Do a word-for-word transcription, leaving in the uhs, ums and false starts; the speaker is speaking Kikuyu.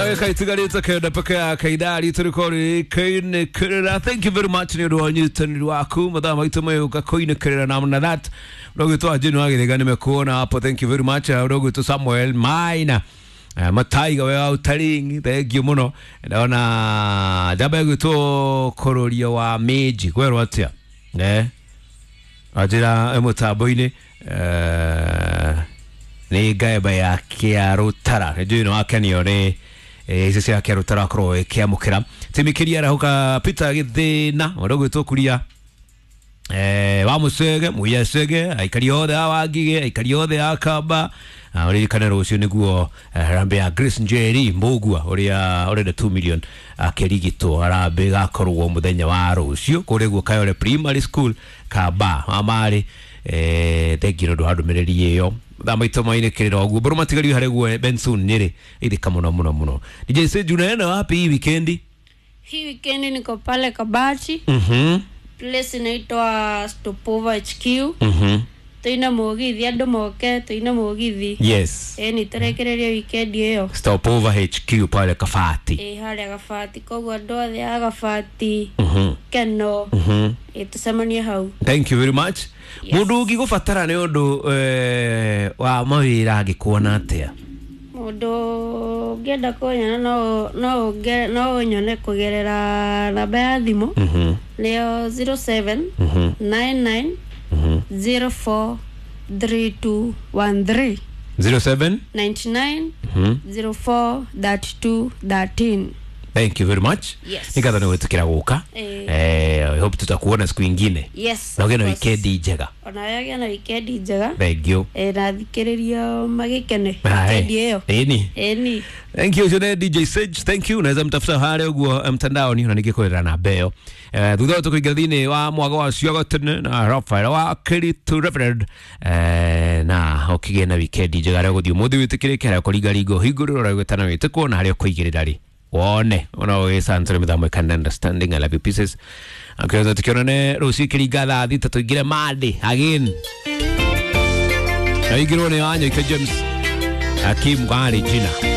Ndagĩka itigarĩte kenda peke yake ithaa ritũ rĩkorwo rĩkĩinĩkĩrĩra. Thank you very much nĩ ũndũ wa ũnyitanĩri waku. Mathaa maitũ mayũka kũinĩkĩrĩra namna that ũrogwĩtwo Anjini wa Gĩthĩga nĩmekuona hapo. Thank you very much. Ũrogwĩtwo Samuel Maina. Uh, Mataiga we wa utaringi, thank you muno. Ndona njamba ĩgwĩtwo Kũrũria wa Minji kwerwo atĩa eh anjĩra mũtambo-inĩ eh, nĩ ngaemba ya Kĩarũtara. Nĩ njũĩ nĩ wakenio nĩ eh, icio cia Kĩarũtara akorwo ĩkĩamũkĩra timikiria arahũka Peter Gĩthĩna ũrĩa ũgwĩtwo Kuria eh, wa Mũcege Mũyacege aikari othe a Wangige aikari othe a Kamba. Ũririkane rũciũ nĩguo harambee ya Grace Njeri Mbũgua ũrĩa ũrenda two million akĩrigitwo. Harambee ĩgakorwo mũthenya wa rũciũ kũrĩa guo Kayole Primary School Kamba wa eh, thengiũ nĩ ũndũ wa ndũmĩrĩri ĩyo. Thaa maitũ mainĩkĩrĩra ũguo mbũrũ matigario harĩ guo Benson Nyeri ithika mũno mũno mũno. D J Sage unaenda wapi hii weekendi? Hii weekendi niko pale Kabati. Mhm. Place inaitwa Stopover H Q. Mhm. Tuina mugithi andu moke tuina mugithi. Yes. Eh ni terekereria weekend iyo. Stopover H Q pale Kabati. Eh haria Kabati koguo andu othe a Kabati. Mhm. Keno. Mhm. Eh tucemanie hau. Thank you very much. Yes. Mundu ũngĩgũbatara nĩ ũndũ eh, wa mawĩra angĩkuona atĩa? Mundu ũngĩenda kũnyona no no no ũnyone kũgerera namba ya thimũ. Mhm. Nĩyo zero seven Mhm. nine nine Mhm. zero four three two one three. zero seven ninety nine Mhm. zero four thirty two thirteen. Thank you very much. Yes. Nikatha nĩ gwĩtĩkĩra gũka. Eh. Eh, I hope tutakuona siku ingine. Yes. Na ũgĩe na of course. weekend njega. Ona ũgĩe na weekend njega. Thank you. Eh, na thikĩrĩria magĩkene Aye. weekend ĩyo. Ĩni. Ĩni. Thank you ũcio D J Sage. Thank you. Unaweza mtafuta harĩa ũguo mtandaoni na ningĩkwĩra namba ĩyo. Eh, thutha ũyũ tũkũingĩra thĩinĩ wa mwago wa Ciago Tene na Raphael wa Kiritu Reverend. Eh, na ũkĩgĩe na weekend njega harĩa ũgũthiĩ ũmũthĩ wĩtĩkĩrĩke harĩa ũkũringaringa ũhingũrĩrwo harĩa ũgwĩtana wĩtĩkwo na harĩa ũkũigĩrĩra rĩ wone ona ũgĩcantũre mĩthamo ĩkana understanding. I love you pieces. Akĩweza tukionane rũciũ kĩringa thaa thita tũingĩre Monday again. Na ingĩrwo nĩ Wanyoike James Hakim Gari jina.